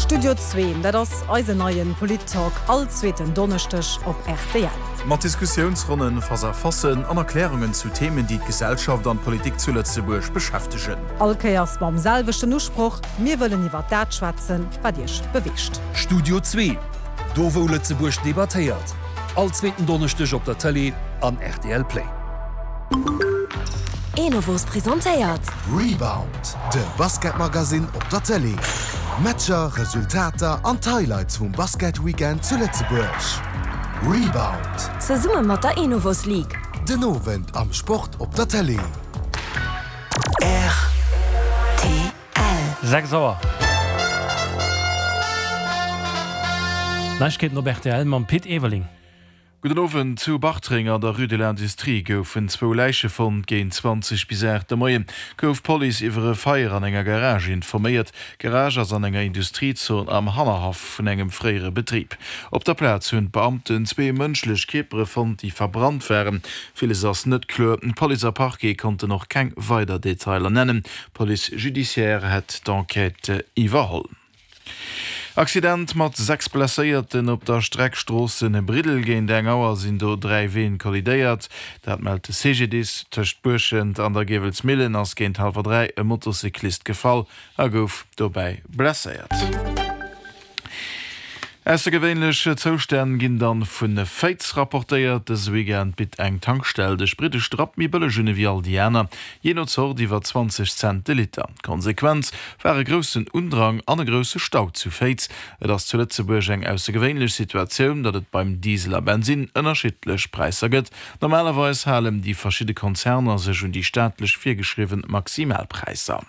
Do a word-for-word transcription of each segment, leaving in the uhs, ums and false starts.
Studio Zwee, dat ass eisen neien Polit-Talk all zweeten Donneschdeg op R T L. Mat Diskussiounsronnen, Face-à-facen an Erklärungen zu Themen, déi d'Gesellschaft an d'Politik zu Lëtzebuerg beschäftegen. All Kéiers mam selwechten Usproch: Mir wëllen iwwer dat schwätzen, wat iech beweegt. Studio Zwee, do wou Lëtzebuerg debattéiert. All zweeten Donneschdeg op der Tëlee an R T L Play. Enovos presentéiert. Rebound, de Basketmagazin op der Tëlee. Matcher, Resultater an Highlights vum Basket-Weekend zu Lëtzebuerg. Rebound. Zesumme mat der Enovos League. Den Owend am Sport op der Tëlee. R T L. Sechs Auer. Neiegkeeten op R T L mam Pit Everling. Gudden Owend. Zu Bartreng an der Rue de l'Industrie goufen zwou Läiche fonnt. Géint zwanzeg bis aacht de Moie gouf d'Police iwwer e Feier an enger Garage informéiert. D'Garage ass an enger Industriezon am Hannerhaff vun engem fréiere Betrib. Op der Plaz hunn d'Beamten zwee mënschlech Kierpere fonnt, déi verbrannt waren. Villes ass net kloer. Police a Parquet konnten och keng weider Detailer nennen. D'Police judiciaire hätt d'Enquête iwwerholl. Accident mat sechs Blesséierten op der Streck Stroossen-Briddel. Géint eng Auer sinn do dräi Ween kollidéiert. Dat mellt de C G D I S. Tëscht Buerschent an der Giewelsmillen ass géint hallwer dräi e Motocyclist gefall a gouf dobäi blesséiert. Aussergewéinlech Zoustänn ginn dann vu Féiz rapportéiert. Dëse Weekend bitt eng Tankstell de Sprit e Strapp méi bëlleg un ewéi all déi aner, jee no Zort iwwer zwanzeg Cent de Liter. Konsequenz war e groussen Undrang an e grousse Stau zu Féiz. Et ass zu Lëtzebuerg eng aussergewéinlech Situatioun, datt et beim Diesel a Bensin ënnerschiddlech Präisser gëtt. Normalerweis halen déi verschidde Konzerner sech un déi staatlech virgeschriwwe Maximalpräisser.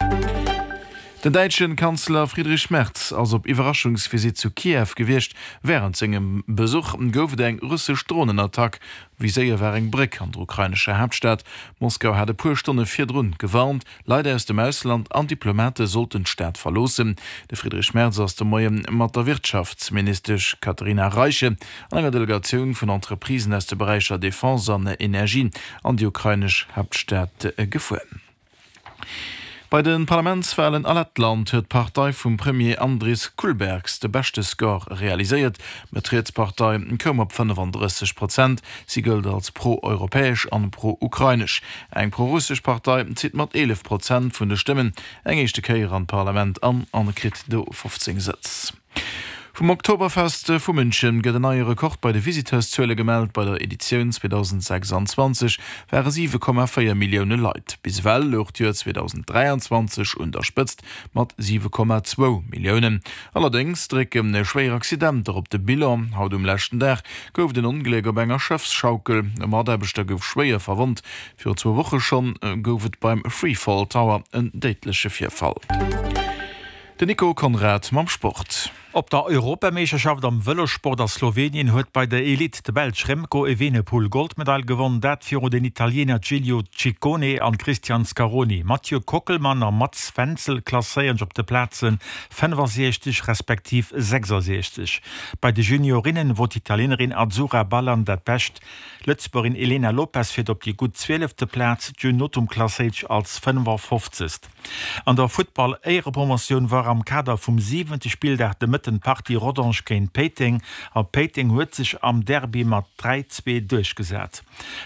Den däitsche Kanzler Friedrich Merz ass op Iwwerraschungsvisitt zu Kiew gewiescht. Wärend sengem Besuch gouf et eng russesch Dronenattack. Viséiert war eng Bréck an der ukrainescher Haaptstad. Moskau hat e puer Stonne virdrun gewarnt, Leit aus dem Ausland an Diplomate sollten d'Stad verloossen. De Friedrich Merz ass de Moie mat der Wirtschaftsministesch Katharina Reiche an enger Delegatioun vun Entreprisen aus de Beräicher Defense an Energie an déi ukrainesch Haaptstad gefuer. Bei de Parlamentswalen a Lettland huet d'Partei vum Premier Andris Kulbergs de beschte Score realiséiert. D'Mëtt-riets-Partei koum op fënnefandrësseg Prozent. Si gëllt als pro-europäesch an pro-ukrainesch. Eng pro-russesch Partei zitt mat eelef Prozent vun de Stëmmen eng éischte Kéier an d'Parlament an an kritt do fofzéng Sëtz. Vum Oktoberfest vu München gëtt en neie Rekord bei de Visiteurszuele gemellt. Bei der Editioun zweedausendsechsanzwanzeg ware siwe Komma véier Millioune Leit. Bis ewell louch d'Joer zweedausendräianzwanzeg un der Spëtzt mat siwe Komma zwou Milliounen. Allerdéngs drécke schwéier Accidenter op de Bilan. Haut um leschten Dag gouf et en Ongléck op enger Schëffsschaukel. E Mataarbechter gouf schwéier verwonnt. Virun zwou Woche schonn gouf et beim Freefall Tower en déidleche Virfall. Den Nico Conrad mam Sport. Op der Europameeschterschaft am Vëlossport a Slowenien huet bei der Elite de Belsch Remco Evenepoel Goldmedail gewonn, dat virun den Italiener Giulio Ciccone an Christian Scaroni. Mathieu Kockelmann a Mats Wenzel klasséieren sech op de Plaze fënnefasechzeg respektiv sechsasechzeg. Bei de Juniorinnen wor d'Italienerin Azzurra Ballan dat Bescht. D'Lëtzebuergerin Elena Lopes fiert op déi gutt zwielefte Plaz, June Nothum klasséiert sech als fënnefafofzegst. An der Futtball-Éierepromotioun war am Kader vum siwente Spilldag de Mëtten d'Partie Rodange géint Péiteng a Péiteng huet sech am Derby mat dräi, zwee duerchgesat.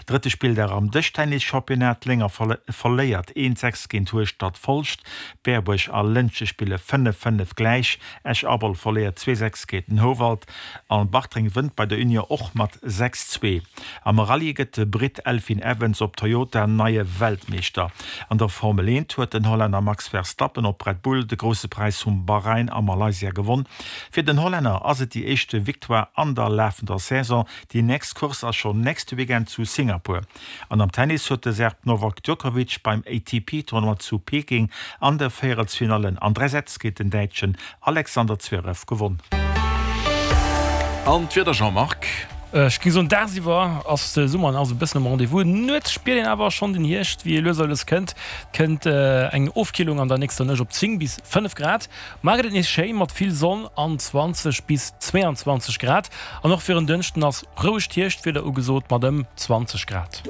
Drëtte Spilldag am Dëschtennis-Championnat, Lénger verléiert eent, sechs géint Hueschtert Folscht, Berbuerg a Lëntge spille fënnef, fënnef gläich, Esch-Abel verléiert zwee, sechs géint den Houwald an Bartreng wënnt bei der Union och mat sechs, zwee. Am Rallye gëtt de Britt Elfyn Evans op Toyota neie Weltmeeschter. An der Formel eent huet den Hollänner Max Verstappen op Red Bull de Grousse Präis vum Bahrain a Malaysia gewonn. Fir den Hollänner ass et déi éischte Victoire an der lafender Saison. Déi nächst Course ass schonn nächste Weekend zu Singapur. An am Tennis huet de Serb Novak Djokovic beim A T P-Tournoi zu Peking an der Véierelsfinallen an dräi Sätz géint den Däitschen Alexander Zverev gewonn. An d'Wieder, Jean-Marc? Ech géing soen, dagsiwwer ass de Summer nach esou e bëssen um Rendez-vous. Nuets spiert een awer schonn den Hierscht, wéi e lues a lues kënnt. Et kënnt eng Ofkillung an der nächster Nuecht op zéng bis fënnef Grad. Mar gëtt et nees schéi mat vill Sonn an zwanzeg bis zweeanzwanzeg Grad. An och fir en Dënschden ass rouegt Hierschtwieder ugesot mat ëm zwanzeg Grad.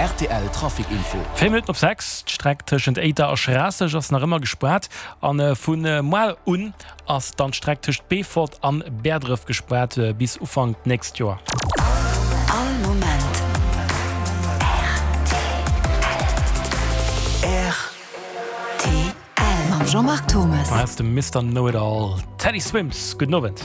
Rtl Trafic Info. Véier Minutten op sechs, D'Streck tëschent Éiter a Schraasseg ass nach ëmmer gespaart an vu muer un ass dann d'Streck tëscht Beefort an Bäerdref gespaart bis Ufank d'nächst Joer. All Moment rtl. Mam Jean-Marc Thomes. Hei ass de Mister Know It All, Teddy Swims. Gudden Owend.